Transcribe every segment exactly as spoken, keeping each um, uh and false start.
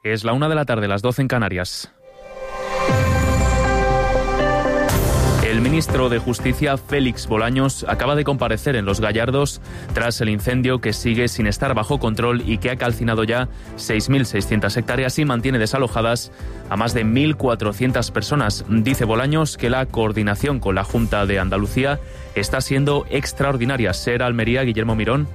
Es la una de la tarde, las doce en Canarias. El ministro de Justicia, Félix Bolaños, acaba de comparecer en Los Gallardos tras el incendio que sigue sin estar bajo control y que ha calcinado ya seis mil seiscientas hectáreas y mantiene desalojadas a más de mil cuatrocientas personas. Dice Bolaños que la coordinación con la Junta de Andalucía está siendo extraordinaria. Ser Almería, Guillermo Mirón.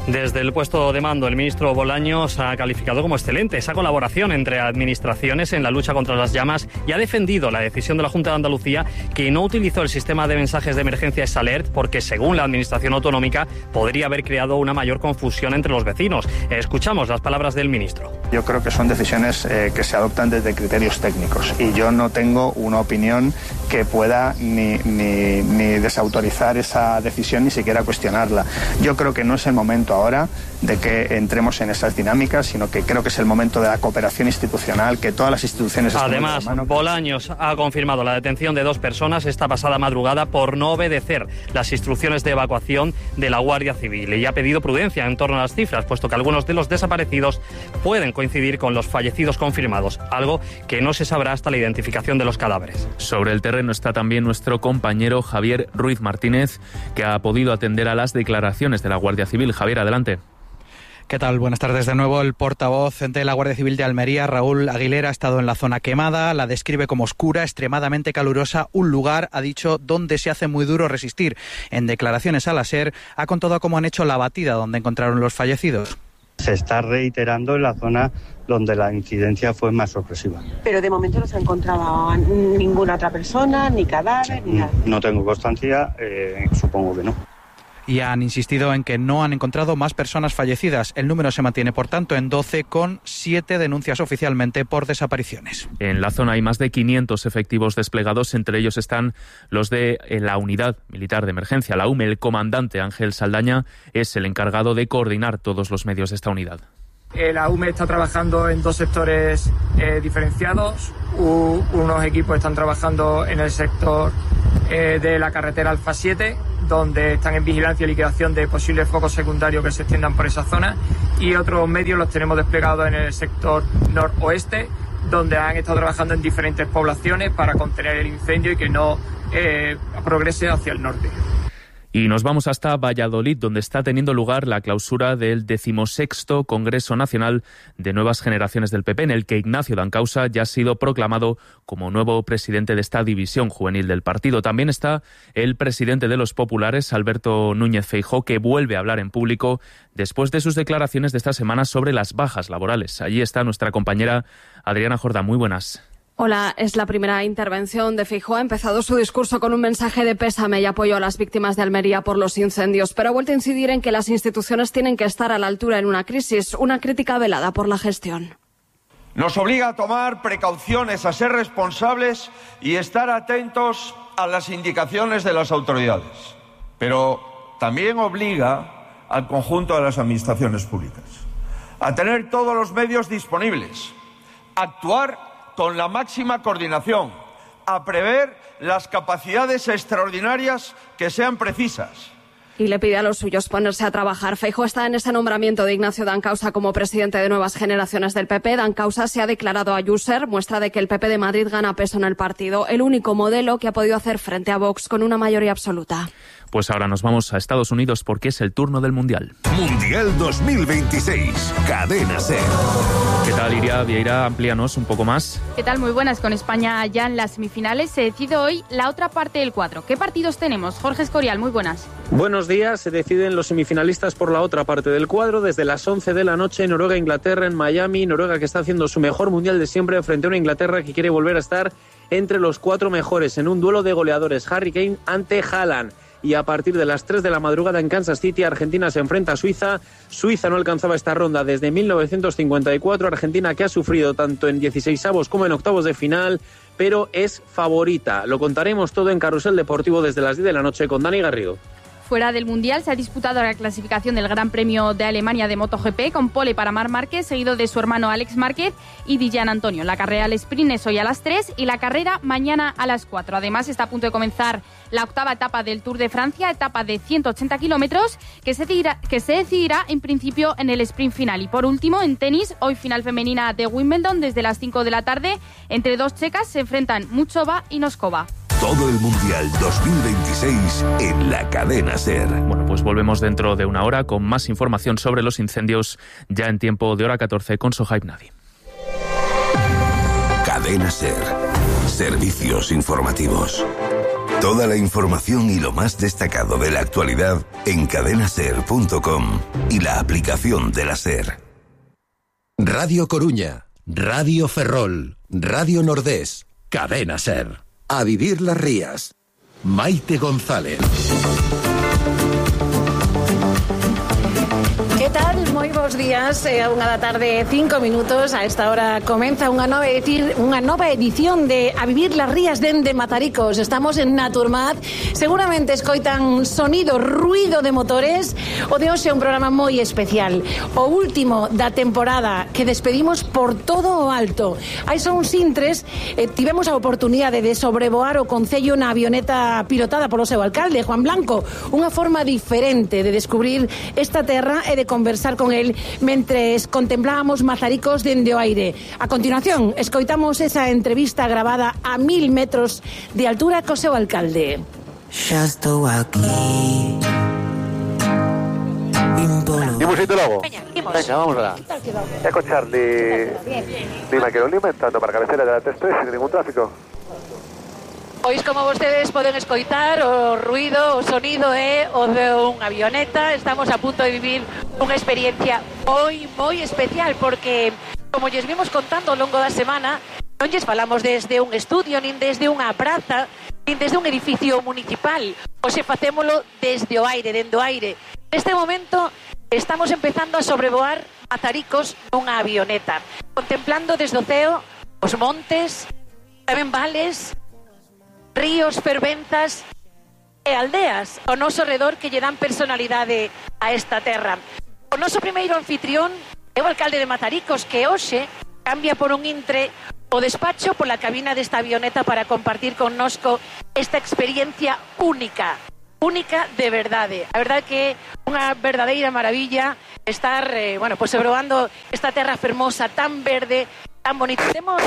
Desde el puesto de mando, el ministro Bolaños ha calificado como excelente esa colaboración entre administraciones en la lucha contra las llamas y ha defendido la decisión de la Junta de Andalucía que no utilizó el sistema de mensajes de emergencia S Alert porque, según la Administración Autonómica, podría haber creado una mayor confusión entre los vecinos. Escuchamos las palabras del ministro. Yo creo que son decisiones eh, que se adoptan desde criterios técnicos y yo no tengo una opinión que pueda ni, ni, ni desautorizar esa decisión ni siquiera cuestionarla. Yo creo que no es el momento ahora de que entremos en esas dinámicas, sino que creo que es el momento de la cooperación institucional, que todas las instituciones... Además, Bolaños ha confirmado la detención de dos personas esta pasada madrugada por no obedecer las instrucciones de evacuación de la Guardia Civil y ha pedido prudencia en torno a las cifras, puesto que algunos de los desaparecidos pueden coincidir con los fallecidos confirmados, algo que no se sabrá hasta la identificación de los cadáveres. Sobre el terreno está también nuestro compañero Javier Ruiz Martínez, que ha podido atender a las declaraciones de la Guardia Civil. Javier, adelante. ¿Qué tal? Buenas tardes de nuevo. El portavoz de la Guardia Civil de Almería, Raúl Aguilera, ha estado en la zona quemada, la describe como oscura, extremadamente calurosa, un lugar, ha dicho, donde se hace muy duro resistir. En declaraciones a la SER ha contado cómo han hecho la batida donde encontraron los fallecidos. Se está reiterando en la zona donde la incidencia fue más sorpresiva. Pero de momento no se ha encontrado ninguna otra persona, ni cadáver, ni nada. No tengo constancia, eh, supongo que no. Y han insistido en que no han encontrado más personas fallecidas. El número se mantiene, por tanto, en doce, con siete denuncias oficialmente por desapariciones. En la zona hay más de quinientos efectivos desplegados, entre ellos están los de la Unidad Militar de Emergencia, la U M E. El comandante Ángel Saldaña es el encargado de coordinar todos los medios de esta unidad. La U M E está trabajando en dos sectores eh, diferenciados. U, unos equipos están trabajando en el sector eh, de la carretera Alfa siete, donde están en vigilancia y liquidación de posibles focos secundarios que se extiendan por esa zona, y otros medios los tenemos desplegados en el sector noroeste, donde han estado trabajando en diferentes poblaciones para contener el incendio y que no eh, progrese hacia el norte. Y nos vamos hasta Valladolid, donde está teniendo lugar la clausura del decimosexto Congreso Nacional de Nuevas Generaciones del P P, en el que Ignacio Dancausa ya ha sido proclamado como nuevo presidente de esta división juvenil del partido. También está el presidente de los populares, Alberto Núñez Feijóo, que vuelve a hablar en público después de sus declaraciones de esta semana sobre las bajas laborales. Allí está nuestra compañera Adriana Jordán. Muy buenas. Hola, es la primera intervención de Feijóo. Ha empezado su discurso con un mensaje de pésame y apoyo a las víctimas de Almería por los incendios, pero ha vuelto a incidir en que las instituciones tienen que estar a la altura en una crisis, una crítica velada por la gestión. Nos obliga a tomar precauciones, a ser responsables y estar atentos a las indicaciones de las autoridades, pero también obliga al conjunto de las administraciones públicas a tener todos los medios disponibles, a actuar con la máxima coordinación, a prever las capacidades extraordinarias que sean precisas. Y le pide a los suyos ponerse a trabajar. Feijóo está en ese nombramiento de Ignacio Dancausa como presidente de Nuevas Generaciones del P P. Dancausa se ha declarado a User, muestra de que el P P de Madrid gana peso en el partido, el único modelo que ha podido hacer frente a Vox con una mayoría absoluta. Pues ahora nos vamos a Estados Unidos porque es el turno del Mundial. Mundial dos mil veintiséis, Cadena SER. ¿Qué tal, Iria Vieira? Amplíanos un poco más. ¿Qué tal? Muy buenas. Con España ya en las semifinales se decide hoy la otra parte del cuadro. ¿Qué partidos tenemos? Jorge Escorial, muy buenas. Buenos días. Se deciden los semifinalistas por la otra parte del cuadro desde las once de la noche. Noruega-Inglaterra en Miami. Noruega que está haciendo su mejor Mundial de siempre frente a una Inglaterra que quiere volver a estar entre los cuatro mejores en un duelo de goleadores. Harry Kane ante Haaland. Y a partir de las tres de la madrugada en Kansas City, Argentina se enfrenta a Suiza. Suiza no alcanzaba esta ronda desde mil novecientos cincuenta y cuatro. Argentina que ha sufrido tanto en dieciseisavos como en octavos de final, pero es favorita. Lo contaremos todo en Carrusel Deportivo desde las diez de la noche con Dani Garrido. Fuera del Mundial se ha disputado la clasificación del Gran Premio de Alemania de MotoGP con pole para Marc Márquez, seguido de su hermano Alex Márquez y Dillan Antonio. La carrera al sprint es hoy a las tres y la carrera mañana a las cuatro. Además, está a punto de comenzar la octava etapa del Tour de Francia, etapa de ciento ochenta kilómetros, que se decidirá, que se decidirá en principio en el sprint final. Y por último, en tenis, hoy final femenina de Wimbledon desde las cinco de la tarde. Entre dos checas se enfrentan Muchova y Noskova. Todo el Mundial dos mil veintiséis en la Cadena SER. Bueno, pues volvemos dentro de una hora con más información sobre los incendios, ya en tiempo de hora catorce con Sohaib Nadi. Cadena SER. Servicios informativos. Toda la información y lo más destacado de la actualidad en cadena ser punto com y la aplicación de la SER. Radio Coruña, Radio Ferrol, Radio Nordés, Cadena SER. A vivir las Rías. Maite González. Que tal? Moi bons días, é unha da tarde, cinco minutos. A esta hora comeza unha nova, decir, unha nova edición de A vivir las Rías dende Mazaricos. Estamos en Naturmat. Seguramente escoitan sonido, ruido de motores. O de hoxe é un programa moi especial. O último da temporada que despedimos por todo o alto. Hai só uns intres, eh, tivemos a oportunidade de sobrevoar o Concello na avioneta pilotada polo seu alcalde, Juan Blanco. Unha forma diferente de descubrir esta terra e de conversar con él mentres contemplábamos Mazaricos dende o aire. A continuación, escoitamos esa entrevista grabada a mil metros de altura co seu alcalde. Xa estou aquí. Imos indo logo. Venga, vamos alá. Eco Charlie. Lima Quero Lima, entrando para cabecera de la T tres sin ningún tráfico. Pois como vostedes poden escoitar, o ruido, o sonido é o de unha avioneta. Estamos a punto de vivir unha experiencia moi, moi especial, porque, como lles vimos contando ao longo da semana, non lles falamos desde un estudio, nin desde unha praza, nin desde un edificio municipal. Hoxe facémolo desde o aire, dende o aire. Neste momento estamos empezando a sobrevoar Mazaricos nunha avioneta, contemplando desde o ceo os montes, tamén vales, ríos, fervenzas e aldeas ao noso redor que lle dan personalidade a esta terra. O noso primeiro anfitrión é o alcalde de Mazaricos, que hoxe cambia por un intre o despacho pola cabina desta avioneta para compartir connosco esta experiencia única, única de verdade. A verdade que é unha verdadeira maravilla estar, eh, bueno, pues sobrevoando esta terra fermosa, tan verde, tan bonita. Temos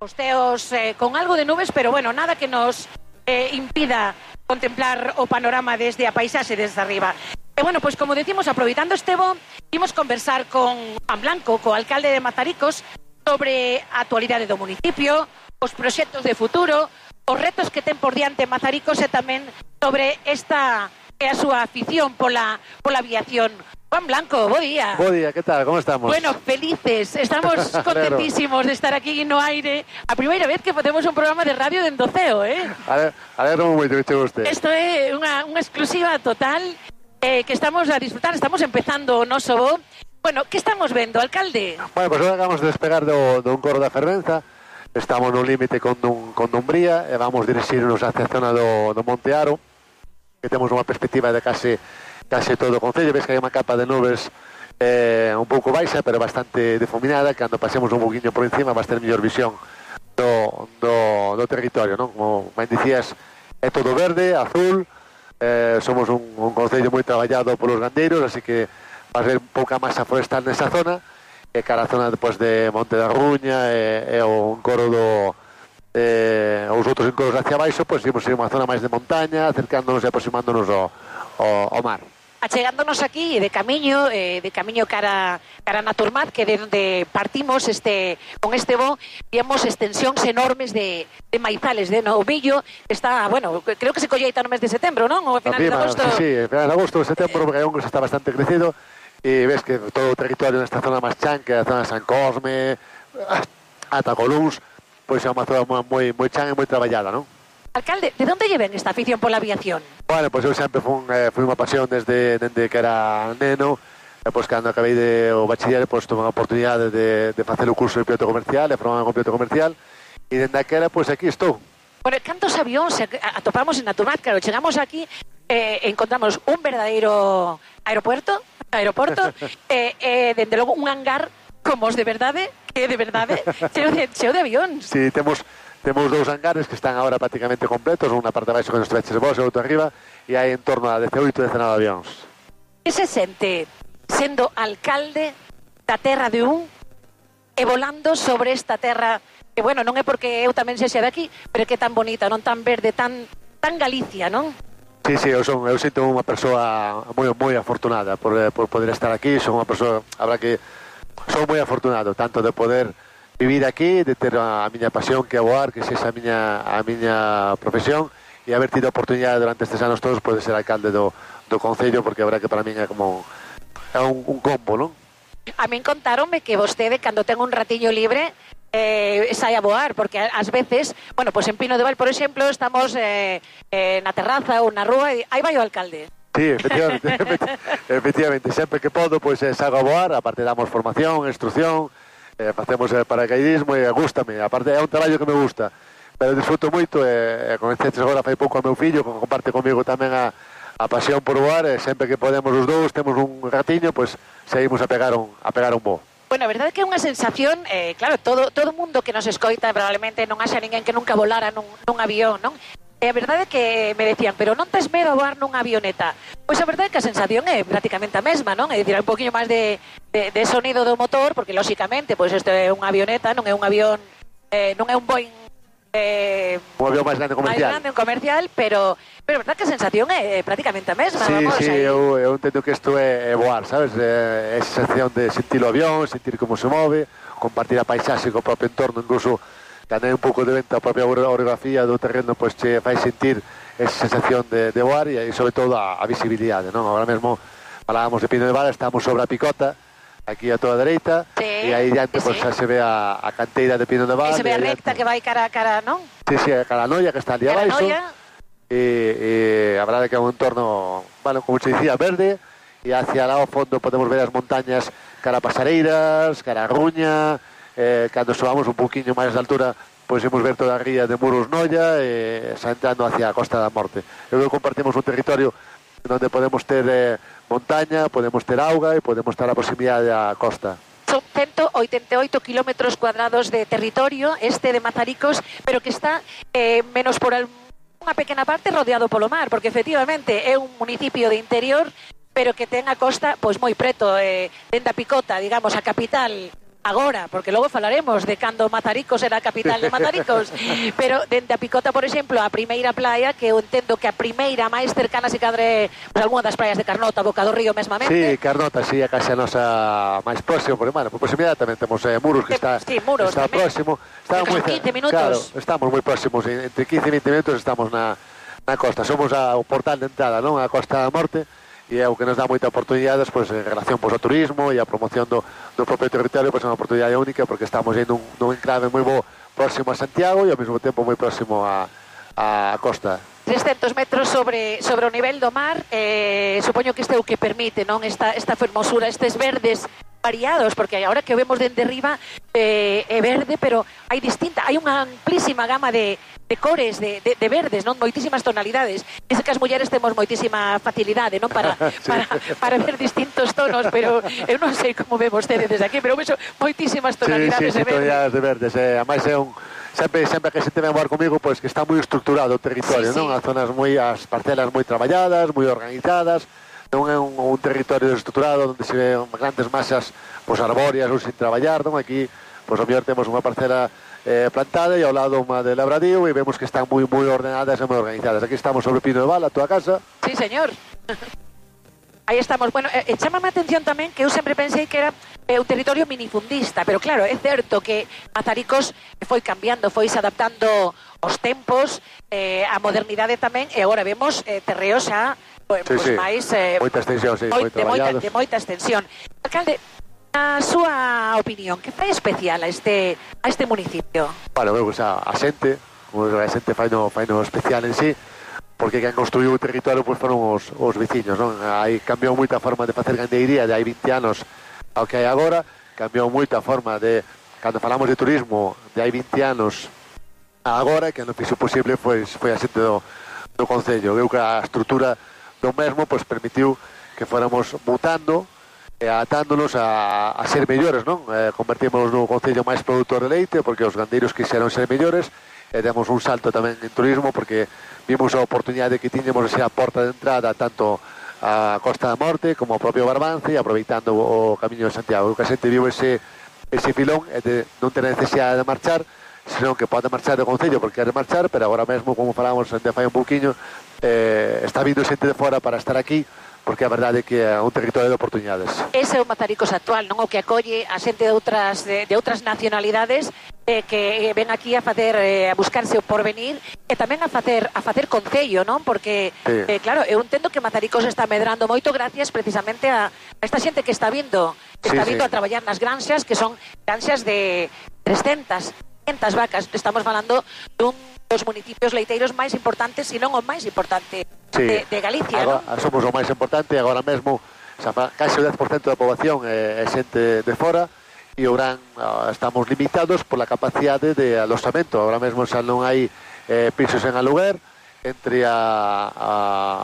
os teos eh, con algo de nubes, pero bueno, nada que nos eh, impida contemplar o panorama desde a paisaxe desde arriba. E bueno, pues como decimos, aproveitando este bo, imos conversar con Juan Blanco, co alcalde de Mazaricos, sobre a actualidade do municipio, os proxectos de futuro, os retos que ten por diante Mazaricos e tamén sobre esta é a súa afición pola, pola aviación. Juan Blanco, bo día. Bo día, que tal? Como estamos? Bueno, felices, estamos contentísimos de estar aquí no aire. A primeira vez que facemos un programa de radio dende o ceo, eh? A ver, a ver, non moito que che guste. Isto é unha, unha exclusiva total eh, que estamos a disfrutar, estamos empezando o noso bo. Bueno, que estamos vendo, alcalde? Bueno, pues agora acabamos de despegar do, do un coro da fervenza. Estamos no límite con, Dun, con Dumbría e vamos dirixirnos hacia a zona do, do Monte Aro, que temos unha perspectiva de case case todo o concello. Ves que hai unha capa de nubes eh, un pouco baixa, pero bastante difuminada. Cando pasemos un poquinho por encima vas ter mellor visión do, do, do territorio, non? Como ben dicías, é todo verde, azul, eh, somos un, un concello moi traballado polos gandeiros, así que vas ver pouca masa forestal nesa zona, e cara a zona depois de Monte da Ruña e, e o encoro do eh, os outros encoros hacia baixo, pois imos ir unha zona máis de montaña, acercándonos e aproximándonos ao, ao, ao mar. Achegándonos aquí de camiño, eh, de camiño cara cara a Naturmat, que de onde partimos este con este bo, víamos extensións enormes de, de maizales, de novillo, está, bueno, creo que se colleita no mes de setembro, non? Ou a finales de agosto. Sí, sí, finales de agosto, setembro, porque hai un que está bastante crecido, e ves que todo o territorio nesta zona máis chan, que é a zona de San Cosme, ata Colúns, pois é unha zona moi, moi chan e moi traballada, non? Alcalde, ¿de dónde lleven esta afición por la aviación? Bueno, pues eu sempre fui, eh, fui unha pasión desde, desde que era neno, e pois cando acabei de, o bachiller, pois tuve unha oportunidade de, de facer o curso de piloto comercial, e formar con piloto comercial, e dende aquela, pois aquí estou. Bueno, cantos avións atopamos en Naturmat? Claro, chegamos aquí, eh, encontramos un verdadeiro aeropuerto, aeroporto, eh, eh, dende logo un hangar como os de verdade, que de verdade, cheo de, cheo de avións. Sí, temos temos dous hangares que están agora prácticamente completos, unha parte abaixo que nos traches vos e outra arriba, e hai en torno a dezaoito, dezenove avións. Que se sente sendo alcalde da terra de un e volando sobre esta terra que, bueno, non é porque eu tamén sexa de aquí, pero que é tan bonita, non tan verde, tan tan Galicia, non? Sí, sí, eu, son, eu sinto unha persoa moi moi afortunada por, por poder estar aquí, son unha persoa, habrá que son moi afortunado, tanto de poder vivir aquí, de ter a miña pasión que é voar, que sexa a miña, a miña profesión, e haber tido a oportunidade durante estes anos todos poder ser alcalde do, do Concello, porque a verdad que para min é como é un, un combo, non? A min contáronme que vostede, cando ten un ratiño libre, eh, sai a voar, porque ás veces, bueno, pois pues en Pino de Val, por exemplo, estamos eh, eh, na terraza ou na rúa e aí vai o alcalde. Sí, efectivamente, efectivamente, sempre que podo, pois pues, sago a voar, aparte damos formación, instrucción, eh, facemos eh, paracaidismo e gústame, aparte é un traballo que me gusta, pero disfruto moito e eh, con este agora fai pouco ao meu fillo, que comparte comigo tamén a, a pasión por voar, e sempre que podemos os dous, temos un ratiño, pois pues, seguimos a pegar un, a pegar un voo. Bueno, a verdade é que é unha sensación, eh, claro, todo todo mundo que nos escoita probablemente non haxa ninguén que nunca volara nun, nun avión, non? E a verdade é que me decían, pero non tes medo a voar nunha avioneta? Pois a verdade é que a sensación é prácticamente a mesma, non? É dicir, hai un poquinho máis de, de, de sonido do motor, porque lóxicamente, pois isto é unha avioneta, non é un avión, eh, non é un Boeing eh, un avión máis grande comercial. máis grande, un comercial, pero pero a verdade é que a sensación é prácticamente a mesma. Sí, vamos, sí, aí. eu, eu entendo que isto é, é voar, sabes? É esa sensación de sentir o avión, sentir como se move, compartir a paisaxe co propio entorno, incluso cando hai un pouco de vento a propia orografía do terreno, pois che fai sentir esa sensación de, de voar e, e sobre todo a, a visibilidade, non? Agora mesmo falábamos de Pino de Val, estamos sobre a picota, aquí a toda a dereita, sí, e aí diante sí, pois, sí. se ve a, a canteira de Pino de Val. E se ve a recta diante, que vai cara a cara, non? Sí, sí, a Caranoia, que está ali abaixo. E, e a verdade é que é un entorno, bueno, como se dicía, verde, e hacia lá ao fondo podemos ver as montañas cara a Pasareiras, cara a Ruña, eh, cando subamos un poquinho máis de altura, pois imos ver toda a ría de Muros Noia e xa entrando hacia a Costa da Morte. Eu creo que compartimos un territorio onde podemos ter eh, montaña, podemos ter auga e podemos estar a proximidade da costa. Son ciento oitenta e oito kilómetros cuadrados de territorio, este de Mazaricos, pero que está eh, menos por el, unha pequena parte rodeado polo mar, porque efectivamente é un municipio de interior, pero que ten a costa pois moi preto, eh, dende a Picota, digamos, a capital agora, porque logo falaremos de cando Mazaricos era a capital de Mazaricos, pero dende a Picota, por exemplo, a primeira playa, que eu entendo que a primeira máis cercana se cadre pues, algunha das praias de Carnota, Boca do Río mesmamente. Sí, Carnota, sí, a case a nosa máis próximo, porque, bueno, por proximidade tamén temos eh, Muros, que está, sí, Muros, está próximo. Estamos moi, quince minutos. Claro, estamos moi próximos, entre quince e vinte minutos estamos na, na costa. Somos a, o portal de entrada, non? A Costa da Morte, e é o que nos dá moita oportunidades pois, en relación pois, ao turismo e a promoción do, do propio territorio, pois é unha oportunidade única porque estamos indo nun, nun enclave moi bo próximo a Santiago e ao mesmo tempo moi próximo a, a costa. trescentos metros sobre sobre o nivel do mar, eh, supoño que este é o que permite, non, esta esta fermosura, estes verdes variados, porque agora que o vemos dende arriba eh, é verde, pero hai distinta, hai unha amplísima gama de, de cores, de, de, de verdes, non, moitísimas tonalidades. Dice que as mulleres temos moitísima facilidade, non, para, sí. para, para ver distintos tonos, pero eu non sei como ve vostede desde aquí, pero vexo moitísimas tonalidades sí, sí, de verdes. tonalidades de verdes, eh, ademais é un sempre sempre que se teme a voar comigo, pois que está moi estructurado o territorio, sí, non? Sí. As zonas moi as parcelas moi traballadas, moi organizadas. Non é un, un territorio estructurado onde se ve grandes masas pois, arbóreas ou sin traballar, non? Aquí, pois, o mellor temos unha parcela eh, plantada e ao lado unha de labradío e vemos que están moi moi ordenadas e moi organizadas. Aquí estamos sobre Pino de Val, a túa casa. Sí, señor. Aí estamos. Bueno, eh, chámame a atención tamén que eu sempre pensei que era eh, un territorio minifundista, pero claro, é certo que Mazaricos foi cambiando, foi se adaptando aos tempos, eh, a modernidade tamén, e agora vemos eh, terreos xa Pues, sí, pues sí. máis eh, moita extensión, sí, moi de, moita, de moita extensión. Alcalde, a súa opinión, que fai especial a este a este municipio? Bueno, pues a, a xente, a xente fai no, fai no especial en sí, porque quen construiu o territorio pues, foron os, os veciños, non? Aí cambiou moita forma de facer gandeiría de hai vinte anos ao que hai agora, cambiou moita forma de, cando falamos de turismo, de hai vinte anos a agora, que non fixo posible foi, foi a xente do, do Concello. Eu que a estrutura do mesmo pois permitiu que fóramos mutando e atándonos a, a ser mellores, non? Eh, convertímonos no concello máis produtor de leite porque os gandeiros quixeron ser mellores e demos un salto tamén en turismo porque vimos a oportunidade que tiñamos de ser a porta de entrada tanto a Costa da Morte como ao propio Barbance, aproveitando o Camiño de Santiago. O que a xente viu ese, ese filón é de non ter necesidade de marchar, senón que pode marchar do concello porque quere marchar, pero agora mesmo, como falamos de fai un pouquiño, eh, está vindo xente de fora para estar aquí porque a verdade é que é un territorio de oportunidades. Ese é o Mazaricos actual, non? O que acolle a xente de outras de, de outras nacionalidades eh, que ven aquí a facer eh, a buscarse o porvenir e tamén a facer a facer concello, non? Porque sí. eh, claro, eu entendo que Mazaricos está medrando moito gracias precisamente a, a esta xente que está vindo, que está sí, vindo sí. a traballar nas granxas, que son granxas de trescentas, quinhentas vacas. Estamos falando dun dos municipios leiteiros máis importantes, se non o máis importante sí. de, de Galicia, agora, non? Somos o máis importante, agora mesmo case o dez por cento da poboación é, é xente de fora e Ourán estamos limitados pola capacidade de aloxamento. Agora mesmo xa non hai eh, pisos en aluguer, entre a, a,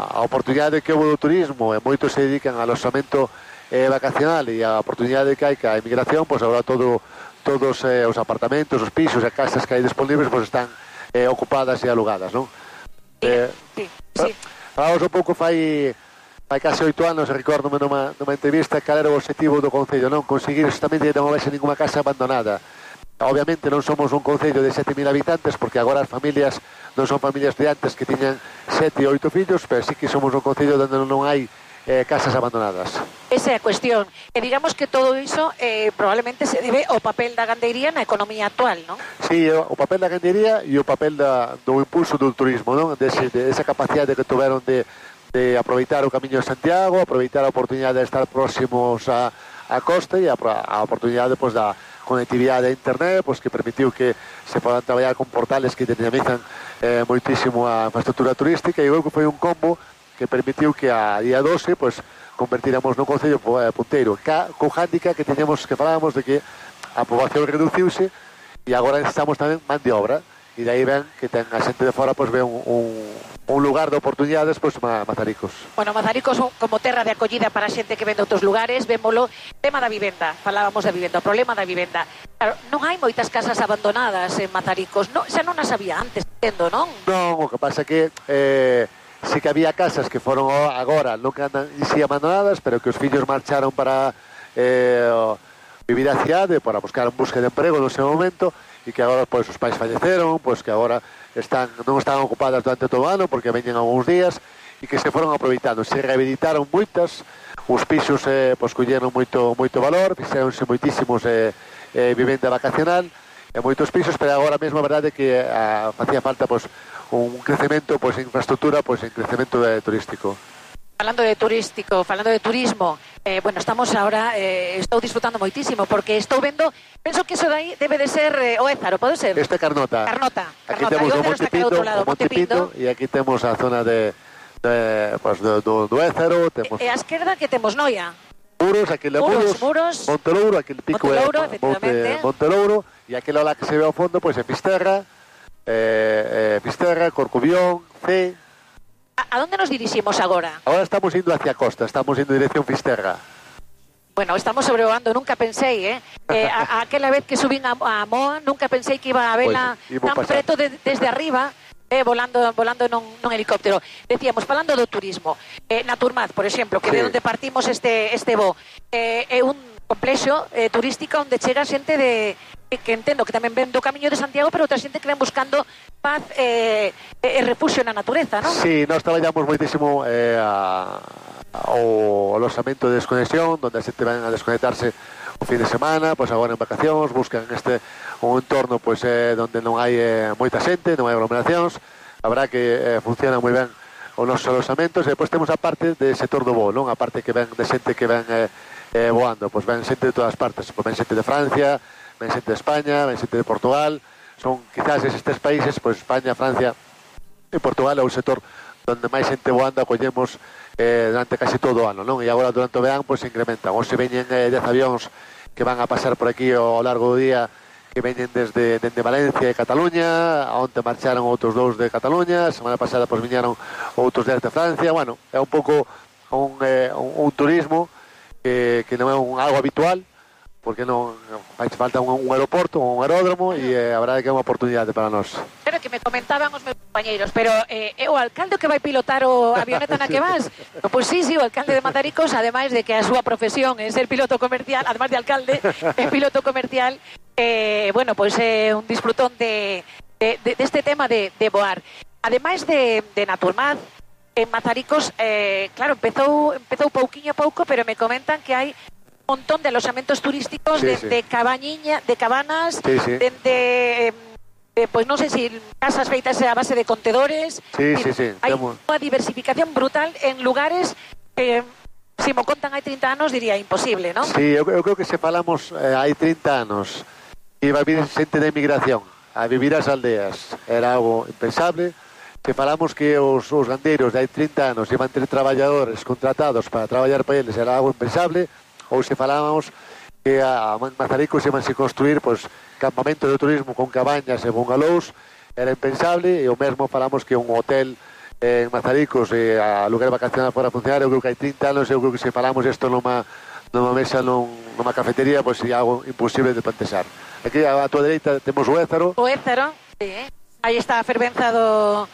a oportunidade que houve do turismo e moitos se dedican ao aloxamento eh, vacacional e a oportunidade que hai que a emigración, pois agora todo, todos eh, os apartamentos, os pisos e casas que hai disponibles pois están Eh, ocupadas e alugadas, non? Sí, eh, sí, sí. Falamos un pouco fai fai case oito anos, recordome numa, numa entrevista cal era o objetivo do Concello, non? Conseguir justamente que non houvese ninguna casa abandonada. Obviamente non somos un Concello de sete mil habitantes porque agora as familias non son familias de antes que tiñan sete ou oito fillos, pero sí que somos un Concello onde non hai eh, casas abandonadas. Esa é a cuestión. E digamos que todo iso eh, probablemente se debe ao papel da gandeiría na economía actual, non? Sí, o papel da gandeiría e o papel da, do impulso do turismo, non? Dese, de esa capacidade que tuveron de, de aproveitar o Camiño de Santiago, aproveitar a oportunidade de estar próximos a, a costa e a, a oportunidade pues, da conectividade a internet pues, que permitiu que se podan traballar con portales que dinamizan eh, moitísimo a infraestructura turística e eu que foi un combo que permitiu que a día doce pues, convertiramos no concello punteiro ca, co handicap que teñamos que falábamos de que a poboación reduciuse e agora necesitamos tamén man de obra e de aí ven que ten a xente de fora pues, ve un, un, un lugar de oportunidades pues, Mazaricos. Bueno, Mazaricos como terra de acollida para a xente que ven de outros lugares, vémolo, tema da vivenda, falábamos da vivenda, o problema da vivenda. Claro, non hai moitas casas abandonadas en Mazaricos, no, xa non as había antes, entendo, non? Non, o que pasa que eh, sí que había casas que foron agora non que andan si abandonadas, pero que os fillos marcharon para eh, vivir a cidade, para buscar un busque de emprego no seu momento e que agora pois, os pais falleceron, pois que agora están, non están ocupadas durante todo o ano porque veñen algúns días e que se foron aproveitando, se rehabilitaron moitas, os pisos eh, pois, colleron moito, moito valor, fixeronse moitísimos eh, eh, vivenda vacacional e moitos pisos, pero agora mesmo a verdade é que a, facía falta pois, un crecemento pois, en infraestructura, pois, en crecemento eh, turístico. Falando de turístico, falando de turismo, eh, bueno, estamos ahora, eh, estou disfrutando moitísimo, porque estou vendo, penso que eso de aí debe de ser eh, o Ézaro, pode ser? Este é Carnota. Carnota, Aquí Carnota. temos o Monte Pindo, o Monte Pindo, e aquí temos a zona de, de, pues, do, do, do Ézaro. Temos... E a esquerda que temos Noia. Muros, aquele Muros, Muros, Muros, Montelouro, aquele pico Montelouro, é Monte, Montelouro, e aquele lá que se ve ao fondo, pois pues, é Fisterra, eh, eh, Fisterra, Corcubión, C. A, a donde nos diriximos agora? Agora estamos indo hacia a costa, estamos indo en dirección Fisterra. Bueno, estamos sobrevoando, nunca pensei, eh? eh a, a aquela vez que subín a, a Moa, nunca pensei que iba a vela pues, tan pasar. preto de, desde arriba, eh, volando volando nun, nun helicóptero. Decíamos, falando do turismo, eh, Naturmaz, por exemplo, que sí. de onde partimos este, este voo, eh, é un complexo eh, turístico onde chega xente de que entendo que tamén ven do Camiño de Santiago, pero outra xente que ven buscando paz e eh, eh, refugio na natureza, non? Sí, nós traballamos moitísimo eh, a, o aloxamento de desconexión, onde a xente ven a desconectarse o fin de semana, pois agora en vacacións, buscan este un entorno pois eh, onde non hai eh, moita xente, non hai aglomeracións, habrá que eh, funciona moi ben os nosos aloxamentos, e depois temos a parte de sector do voo, non? A parte que ven de xente que ven eh, eh, voando, pois ven xente de todas partes, pois ven xente de Francia, ven xente de España, ven xente de Portugal, son quizás eses tres países, pois España, Francia e Portugal é o sector onde máis xente voando acollemos eh, durante casi todo o ano, non? E agora durante o verán pois se incrementan, ou se veñen eh, dez avións que van a pasar por aquí ao largo do día, que que veñen desde, desde Valencia e Cataluña, onte marcharon outros dous de Cataluña, a semana pasada pois viñeron outros dez de Francia. Bueno, é un pouco un, eh, un, un turismo que, que non é un, algo habitual, porque non fai falta un, un aeroporto, un aeródromo, e eh, a verdade que é unha oportunidade para nós. Pero que me comentaban os meus compañeiros, pero eh, é o alcalde que vai pilotar o avioneta na que vas? No, pois sí, sí, o alcalde de Mazaricos, ademais de que a súa profesión é ser piloto comercial, ademais de alcalde, é piloto comercial, eh, bueno, pois é un disfrutón de, de, de, deste tema de, de voar. Ademais de, de Naturmaz, en Mazaricos, eh, claro, empezou, empezou pouquiño a pouco, pero me comentan que hai montón de alojamentos turísticos, sí, de, sí. de cabañiña, de cabanas, sí, sí. de, de, de pues non sei se si casas feitas a base de contedores. Sí, sí, sí. Hai Temos... unha diversificación brutal en lugares que, se mo contan hai trinta anos, diría imposible, non? Sí, eu, eu creo que se falamos eh, hai trinta anos e vai vir xente de emigración a vivir as aldeas, era algo impensable. Se falamos que os, os gandeiros de hai trinta anos iban ter traballadores contratados para traballar para eles, era algo impensable. Ou se falábamos que a Mazaricos iban a construir pois, campamentos de turismo con cabañas e bungalous, era impensable, e o mesmo falamos que un hotel en Mazaricos e a lugar vacacional fora funcionar. Eu creo que hai trinta anos, eu creo que se falamos isto numa, numa mesa, num, numa cafetería, pois sería algo imposible de plantexar. Aquí a, a tua dereita temos o Ézaro. O Ézaro, sí, eh? Aí está a fervenza do,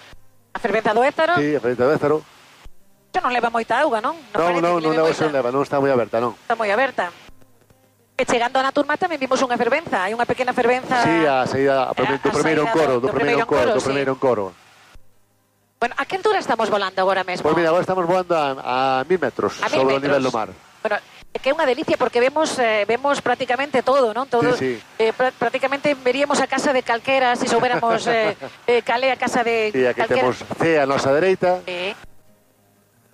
a fervenza do Ézaro. Sí, a fervenza do Ézaro. Non leva moita auga, non? Non, non, non, non, non leva, non está moi aberta, non. Está moi aberta. E chegando a Naturmaz tamén vimos unha fervenza, hai unha pequena fervenza. Sí, a saída a, a, do primeiro encoro, do, do primeiro encoro, do primeiro encoro. Bueno, a que altura estamos volando agora mesmo? Pois mira, agora estamos volando a, a mil metros a sobre mil metros. O nivel do mar. Bueno, é que é unha delicia porque vemos eh, vemos prácticamente todo, non? Todo, sí, sí. Eh, pr prácticamente veríamos a casa de calquera se si soubéramos eh, eh, cal é a casa de sí, aquí calquera. Temos C a nosa dereita. Sí.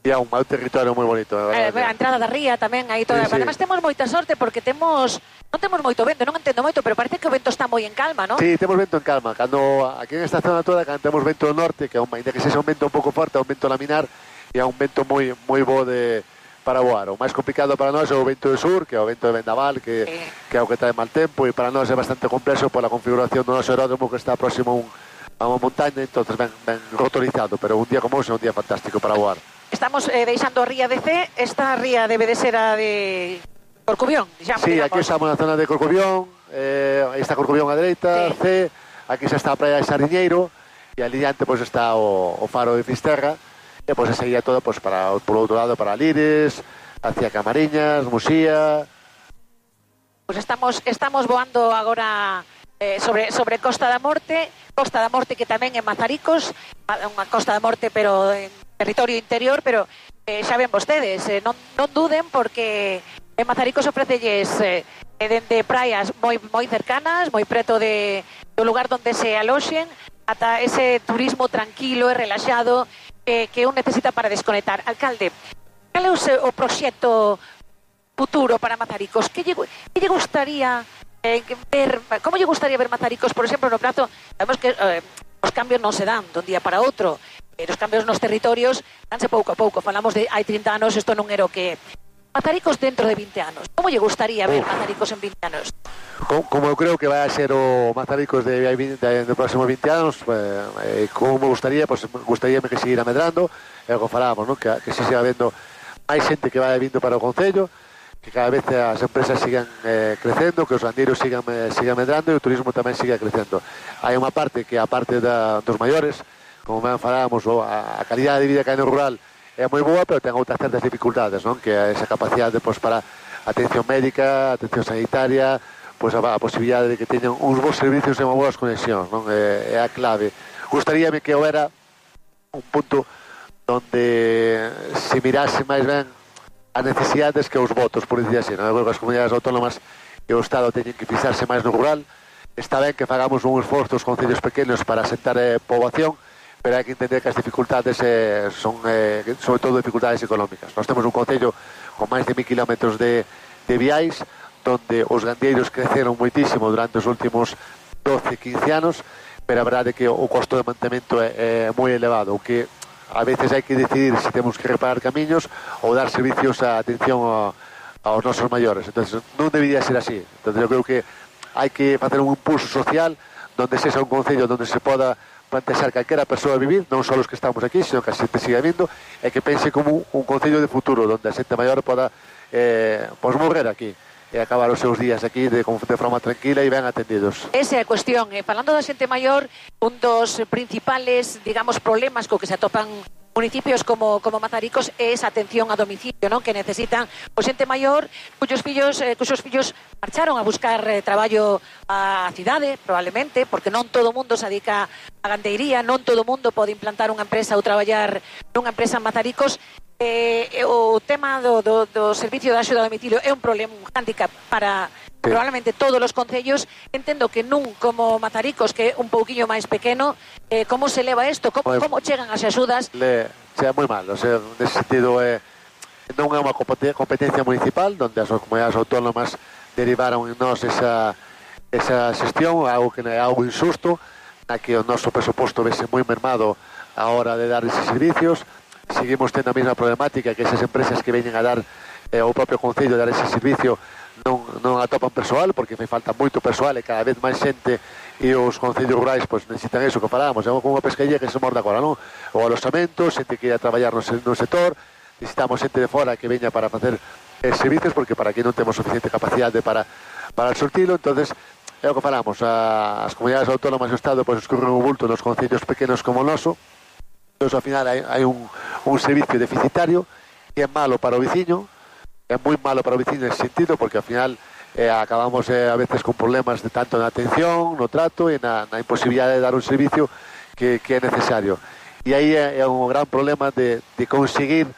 E é un territorio moi bonito. A, a entrada da ría tamén, aí toda. Sí, sí. Además temos moita sorte porque temos non temos moito vento, non entendo moito, pero parece que o vento está moi en calma, non? Sí, temos vento en calma. Cando aquí en esta zona toda, cando temos vento do norte, que ainda que sexa un vento un pouco forte, é un vento laminar e é un vento moi moi bo de para voar. O máis complicado para nós é o vento do sur, que é o vento de vendaval, que sí. que é o que trae mal tempo, e para nós é bastante complexo pola configuración do noso aeródromo, que está próximo a, un, a unha montaña, entonces ben, ben rotorizado, pero un día como hoxe é un día fantástico para voar. Estamos eh, deixando a ría de C, esta ría debe de ser a de Corcubión, digamos. Sí, aquí estamos na zona de Corcubión, eh, aí está Corcubión a dereita, sí. C, aquí xa está a praia de Sariñeiro, e ali diante pois, está o, o faro de Fisterra, e pois seguía todo pois, para, por outro lado para Lires, hacia Camariñas, Musía. Pois estamos, estamos voando agora eh, sobre, sobre Costa da Morte, Costa da Morte que tamén é Mazaricos, unha Costa da Morte pero en territorio interior, pero eh, xa ven vostedes, eh, non, non duden porque en Mazaricos ofrecelles eh, dende praias moi moi cercanas, moi preto de, do lugar onde se aloxen, ata ese turismo tranquilo e relaxado eh, que un necesita para desconectar. Alcalde, cal é o, seu, o proxecto futuro para Mazaricos? Que lle, que lle gustaría eh, ver, como lle gustaría ver Mazaricos, por exemplo, no prazo? Sabemos que eh, os cambios non se dan dun día para outro. Os cambios nos territorios danse pouco a pouco. Falamos de hai trinta anos, isto non era o que... Mazaricos dentro de vinte anos. Como lle gustaría ver Uf. Mazaricos en vinte anos? Como, como eu creo que vai a ser o Mazaricos de, de, de, de próximos vinte anos, eh, como me gustaría, pues, gustaría que seguir amedrando, é o que falábamos, ¿no? que, que se siga vendo máis xente que vai vindo para o Concello, que cada vez as empresas sigan eh, crecendo, que os gandeiros sigan, eh, sigan medrando e o turismo tamén siga crecendo. Hai unha parte que a parte da, dos maiores, como ben falábamos, a calidade de vida que hai no rural é moi boa, pero ten outras certas dificultades, non? Que é esa capacidade pois, para atención médica, atención sanitaria, pois, a, a posibilidade de que teñan uns bons servicios e unha boas conexións, non? É, é a clave. Gustaríame que houbera un punto onde se mirase máis ben as necesidades que os votos, por dicir así, non? Eu creo que as comunidades autónomas e o Estado teñen que fixarse máis no rural. Está ben que fagamos un esforzo os concellos pequenos para asentar eh, poboación, pero hai que entender que as dificultades eh, son, eh, sobre todo, dificultades económicas. Nós temos un concello con máis de mil kilómetros de, de viais, donde os gandeiros creceron moitísimo durante os últimos doce, quince anos, pero a verdade é que o costo de mantemento é, é moi elevado, o que a veces hai que decidir se temos que reparar camiños ou dar servicios a atención a, aos nosos maiores. Entonces, non debería ser así. Entonces, eu creo que hai que facer un impulso social donde sexa un concello donde se poda plantear calquera persoa a vivir, non só os que estamos aquí, sino que a xente siga vindo, e que pense como un, un concello de futuro, donde a xente maior poda eh, pois morrer aquí e acabar os seus días aquí de, de forma tranquila e ben atendidos. Esa é a cuestión. Eh, falando da xente maior, un dos principales, digamos, problemas co que se atopan municipios como, como Mazaricos é esa atención a domicilio, non? Que necesitan o xente maior cuyos fillos, eh, cuyos fillos marcharon a buscar eh, traballo á cidade, probablemente, porque non todo o mundo se dedica a gandeiría, non todo o mundo pode implantar unha empresa ou traballar nunha empresa en Mazaricos. Eh, o tema do, do, do servicio de axuda a domicilio é un problema, un hándicap para sí. probablemente todos os concellos. Entendo que nun como Mazaricos, que é un pouquiño máis pequeno, eh, como se leva isto? Como, como chegan as axudas? Le, sea moi mal, o sea, nesse sentido eh, non é unha competencia municipal donde as comunidades autónomas derivaron en nós esa, esa xestión, algo que é algo injusto, na que o noso presuposto vese moi mermado a hora de dar eses servicios. Seguimos tendo a mesma problemática, que esas empresas que veñen a dar eh, o propio concello dar ese servicio non, non atopan persoal, porque fai falta moito persoal e cada vez máis xente, e os concellos rurais pois, necesitan eso que falábamos, é como unha pescaría que se morda agora, non? O alosamento, xente que ia traballar no, no sector, necesitamos xente de fora que veña para facer eh, servicios, porque para aquí non temos suficiente capacidade para, para surtilo. Entonces é o que falamos, a, as comunidades autónomas do Estado pois, escurren o bulto nos concellos pequenos como o noso. Entón, ao final hai, hai un, un servicio deficitario que é malo para o veciño, é moi malo para o veciño nesse sentido, porque ao final eh, acabamos eh, a veces con problemas de tanto na atención, no trato e na, na imposibilidade de dar un servicio que, que é necesario. E aí é, é un gran problema de, de conseguir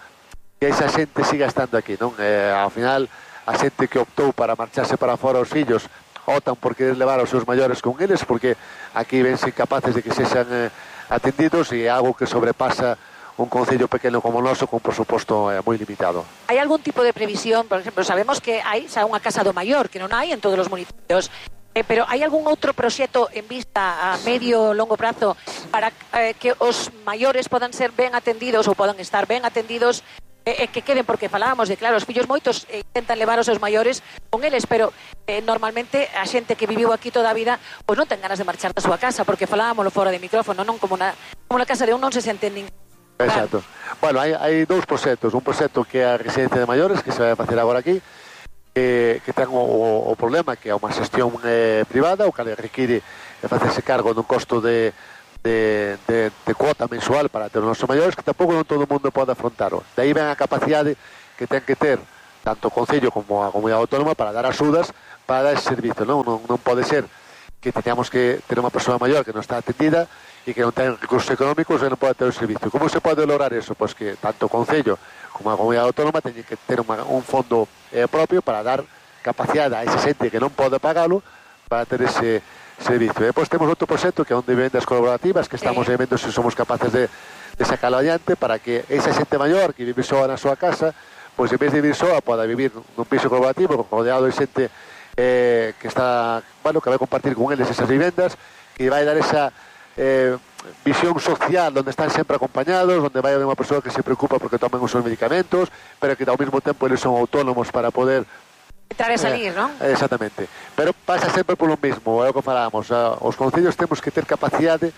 que esa xente siga estando aquí, non? Eh, ao final, a xente que optou para marcharse para fora os fillos optan por querer levar aos seus maiores con eles, porque aquí vense incapaces de que sexan eh, atendidos, e é algo que sobrepasa un concello pequeno como o noso con presuposto eh, moi limitado. Hai algún tipo de previsión? Por exemplo, sabemos que hai xa unha casa do maior, que non hai en todos os municipios, eh, pero hai algún outro proxecto en vista a medio ou longo prazo para eh, que os maiores podan ser ben atendidos ou podan estar ben atendidos, e eh, que queden, porque falábamos de, claro, os fillos moitos eh, intentan levar os seus maiores con eles, pero eh, normalmente a xente que viviu aquí toda a vida pois non ten ganas de marchar da súa casa, porque falábamos fora de micrófono, non como na, como na casa de un non se sente nin. Exacto. Bueno, hai, hai dous proxectos, un proxecto que é a residencia de maiores, que se vai facer agora aquí, que, que ten o, o, o problema que é unha xestión eh, privada, o que require de facerse cargo dun costo de De, de, de cuota mensual para ter os nosos maiores, que tampouco non todo o mundo pode afrontaro. De aí ven a capacidade que ten que ter tanto o Concello como a Comunidade Autónoma para dar axudas, para dar ese servicio. Non, non, non pode ser que teñamos que ter unha persoa maior que non está atendida e que non ten recursos económicos e non pode ter o servicio. Como se pode lograr eso? Pois que tanto o Concello como a Comunidade Autónoma teñen que ter unha, un fondo eh, propio para dar capacidade a esa xente que non pode pagalo para ter ese servicio. E depois temos outro proxecto que é onde vivendas colaborativas, que estamos eh. vendo se somos capaces de, de sacarlo adiante para que esa xente maior que vive soa na súa casa, pois en vez de vivir soa, poda vivir nun piso colaborativo rodeado de xente eh, que está, bueno, que vai compartir con eles esas vivendas, que vai dar esa eh, visión social onde están sempre acompañados, onde vai haber unha persoa que se preocupa porque tomen os seus medicamentos, pero que ao mesmo tempo eles son autónomos para poder entrar e salir, eh, non? Exactamente. Pero pasa sempre polo mesmo, é o que falábamos. Os concellos temos que ter capacidade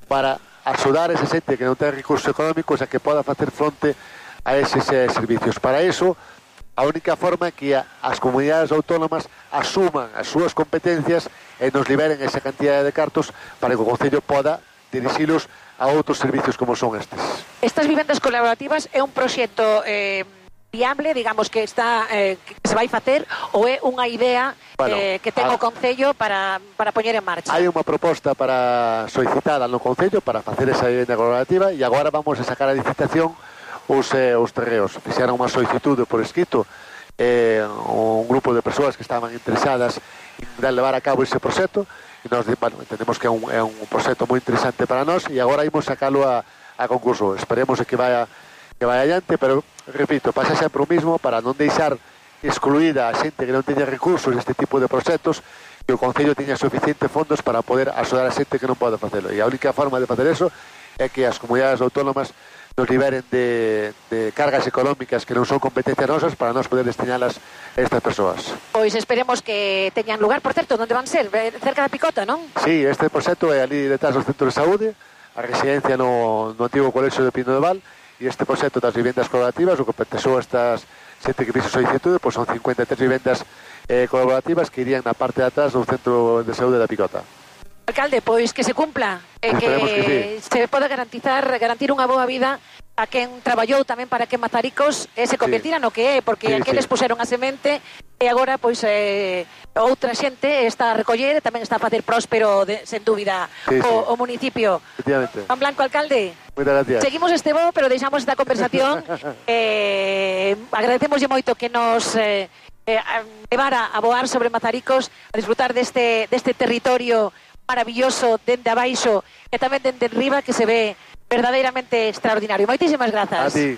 para axudar a esa xente que non ten recursos económicos a que poda facer fronte a eses eh, servicios. Para iso, a única forma é que as comunidades autónomas asuman as súas competencias e nos liberen esa cantidad de cartos para que o concello poda dirixilos a outros servicios como son estes. Estas vivendas colaborativas é un proxecto eh, viable, digamos, que está eh, que se vai facer, ou é unha idea bueno, eh, que ten a... o Concello para, para poñer en marcha? Hai unha proposta para solicitada no Concello para facer esa vivenda colaborativa e agora vamos a sacar a licitación os, eh, os terreos. Fixeron unha solicitude por escrito eh, un grupo de persoas que estaban interesadas en levar a cabo ese proxecto e nós bueno, entendemos que é un, é un proxecto moi interesante para nós e agora imos sacalo a, a concurso. Esperemos que vaya que vai adiante, pero, repito, pasa sempre o mismo para non deixar excluída a xente que non teña recursos este tipo de proxectos, que o Concello teña suficientes fondos para poder axudar a xente que non pode facelo. E a única forma de facer eso é que as comunidades autónomas nos liberen de, de cargas económicas que non son competencias nosas para nós poder destinalas a estas persoas. Pois esperemos que teñan lugar. Por certo, onde van ser? Cerca da Picota, non? Sí, este proxecto é ali detrás do centro de saúde, a residencia no, no antigo colexio de Pino de Val, e este proxecto das vivendas colaborativas, o que pertexou estas sete que fixo solicitude, pois son cincuenta e tres vivendas eh, colaborativas que irían na parte de atrás do centro de saúde da Picota. Alcalde, pois que se cumpla, e que, que sí. se poda garantizar garantir unha boa vida a quen traballou tamén para que Mazaricos eh, se convertira sí. no que é, porque sí, aqueles sí. puseron a semente e agora pois eh, outra xente está a recoller e tamén está a facer próspero, de, sen dúbida, sí, o, sí. o municipio. Juan Blanco, alcalde. Moitas gracias. Seguimos este bo, pero deixamos esta conversación. eh, agradecemoslle moito que nos eh, eh, levara a voar sobre Mazaricos, a disfrutar deste, deste territorio maravilloso dende abaixo e tamén dende arriba, que se ve verdadeiramente extraordinario. Moitísimas grazas. A ti.